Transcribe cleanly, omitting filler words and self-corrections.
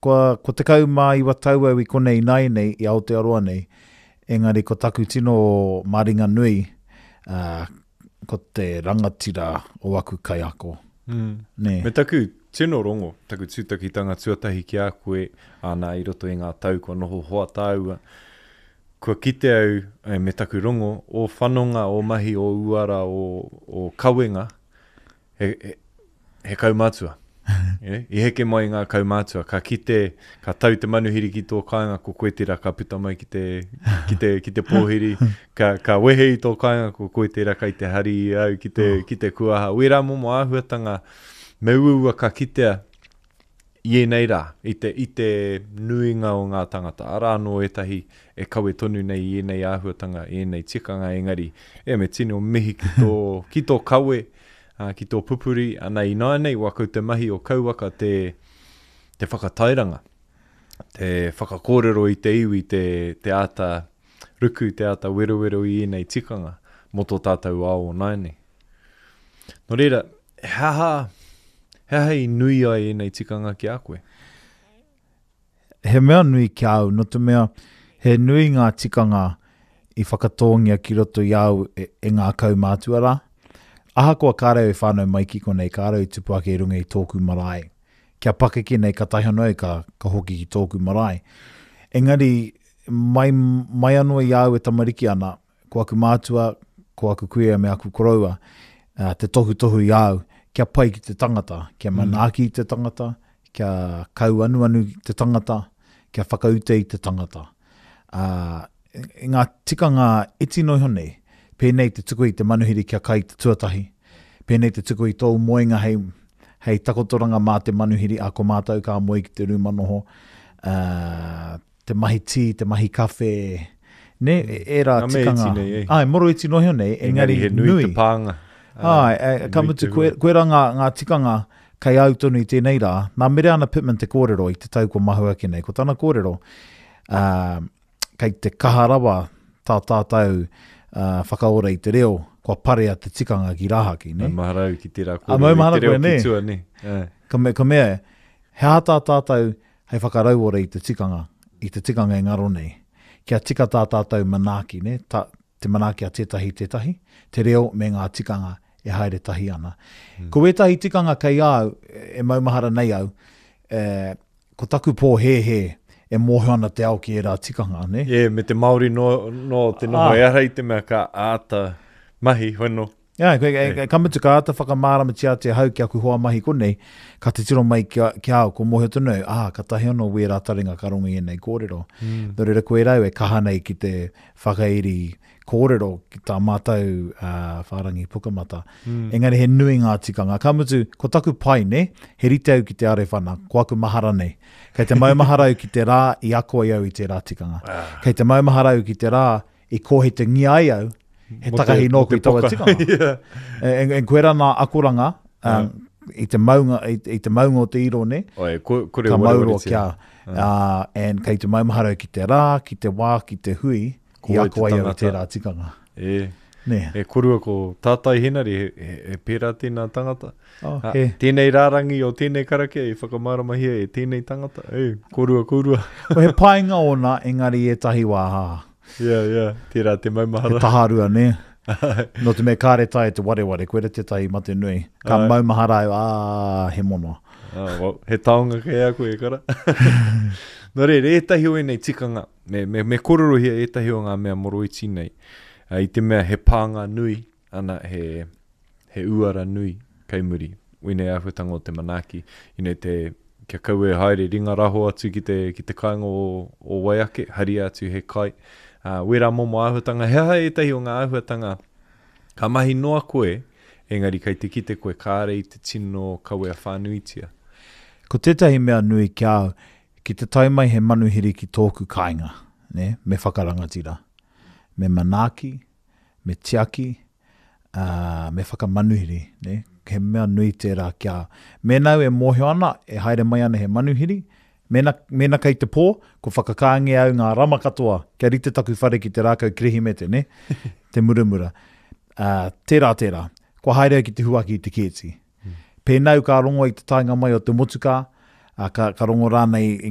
Kua, kua 19 tau au i konei ināianei, i Aotearoa nei, engari ko taku tino maringanui, ā, ko te rangatira o aku kaiako. Mm. Nē. Me taku tino rongo, taku tūtakitanga tuatahi ki a koe, āna i roto i ngā tau kua noho hoa tāua, kua kite au, e, me taku rongo, ō whanonga, ō mahi, ō uara, ō, ō kawenga, he, he, he kaumātua. E, I heke mai ngā kaumātua, ka kite, ka tau te manuhiri ki tō kāinga, ko koe tērā ka puta mai ki te, ki te, ki te pōhiri, ka, ka wehe i tō kāinga, ko koe tērā kai te hari i au ki te, oh. ki te kuaha. Wērā momo āhuatanga, me uaua ka kitea i ēnei rā, i te, i te nuinga o ngā tangata. Arā anō ētahi e kawe tonu nei i ēnei āhuatanga, i ēnei tikanga, engari, e, me tino mihi ki tō, ki tō kawe, ā, ki tō pupuri, ana ināianei, wā kau te mahi o Kauwaka te, te whakatairanga, te whakakōrero i te iwi, te, te āta ruku, te āta werowero i ēnei tikanga mō tō tātou ao o nāianei. Nō reira, he aha, he aha i nui ai ēnei tikanga ki a koe? He mea nui ki a au, nō te mea he nui ngā tikanga i whakatōngia ki roto i a au e, e ngā kaumātua rā. Ahakoa kāre au i whānau mai ki konei, kāre au i tupu ake i runga i tōku marae. Kia pakeke nei, katahi anō au ka, ka hoki ki tōku marae. Engari, mai, mai anō i a au e tamariki ana, ko aku mātua, ko aku kuia me aku koroua, te tohutohu i a au, kia pai ki te tangata, kia mm. manaaki i te tangata, kia kauanuanu i te tangata, kia whakaute i te tangata. Uh, ngā tikanga iti noa iho nei, pēnei te tuku i te manuhiri kia kai te tuatahi, pēnei te tuku i tōu moenga hei, hei takotoranga mā te manuhiri, a ko mātou ka moe ki te rūma noho, uh, te mahi tī, te mahi kawhe, ne, ērā Ngā mea tikanga. iti nei, eh. Ai, moro iti noa iho nei, engari, Engari he nui, nui. te pānga. Ai, e, ka mutu, koe, koera ngā, ngā tikanga kei au tonu i tēnei rā. Nā Mereana Pittman te kōrero i te tau kua mahue ake nei. Ko tana kōrero, uh, kei te kaha rawa tā tātou uh, whakaora i te reo, kua parea te tikanga ki rāhaki, ne? Maumahara au ki tērā A, kōrero i maumahara te reo koe, nē? ki tua, nē. Ā. Ka mea, ka mea, he aha tā tātou hei whakarauora i te tikanga, i te tikanga e ngaro nei. Kia tika tā tātou manaaki, nē, tā, te manaaki a tētahi i tētahi, te reo me ngā tikanga e haere tahi ana. Mm. Ko ētahi tikanga kei a au, e maumahara nei au, e, ko taku pōhēhē e mōhio ana te ao ki ērā tikanga, nē? E, me te Māori noa, noa te noho, ah. ehara i te mea ka āta mahi, hoi no. Yeah, koe, e, ka mutu ka āta whakamāramatia atu e hau ki aku hoa mahi konei, ka titiro mai ki a, ki a au, ko mōhio tonu au, ah, katahi anō wērā taringa ka rongo i ēnei kōrero. Mm. Nō reira koe rau e kaha nei ki te whakairi kōrero ki tā mātou uh, whārangi pukamata. Mm. Engari he nui ngā tikanga. Ka mutu, ko taku pai, ne, he rite au ki te arewhana, ko aku mahara nei. Kei te maumahara au ki te rā i ako ai au i tērā tikanga. Ah. Kei te maumahara au ki te rā i kōhetengia ai au, he takahi nōku i taua tikanga. yeah. E, e, e koe rā nā akoranga, um, i te maunga, i, i te maunga o te iro, ne? Oi, ko, kore ka mauro kia, uh, and kei te maumahara ki te rā, ki te wā, ki te hui, i ako ai au i tērā tikanga. E, ne. e korua ko Tātai Henare, he, he, he pērā tēnā tangata. Oh, he. Tēnei rārangi o tēnei karakia i whakamāramahia e tēnei tangata. E, korua, korua. Ko he painga ōna, engari ētahi wā, hā. Yeah, yeah, tērā te maumahara. He taharua, nē? Nō te mea kāre taea te wareware, koira tētahi mate nui. Ka maumahara au, ā, he mono. Ah, well, he taonga kei a koe, e kara. Nō reira, ētahi o ēnei tikanga, me, me, me kōrerohia ētahi o ngā mea moroiti nei, i te mea he pānga nui, ana, he, he uara nui kei muri. Wēnei āhuatanga o te manaaki, you know, te, kia kaua e haere ringa raho atu ki te, ki te kāinga o, o wai ake, haria atu he kai. Uh, wērā momo āhuatanga, he aha ētahi o ngā āhuatanga ka mahi noa koe, engari kei te kite koe kāre i te tino kawea whānuitia. Ko tētahi mea nui ki a au, ki te tae mai he manuhiri ki tōku kāinga, nē, me whakarangatira, me manaaki, me tiaki, ā, me whakamanuhiri, nē, he mea nui tērā kia, mēnā au e mōhio ana, e haere mai ana he manuhiri, mēnā, mēnā kei te pō, kua whakakāngia au ngā rama katoa, kia rite taku whare ki te rākau Kirihimete, nē, te muramura. Ā, tērā, tērā. Kua haere au ki te huaki i te kēti. Pēnā au ka rongo i te taenga mai o te motukā, ā, ka, ka rongo rānei i ngā.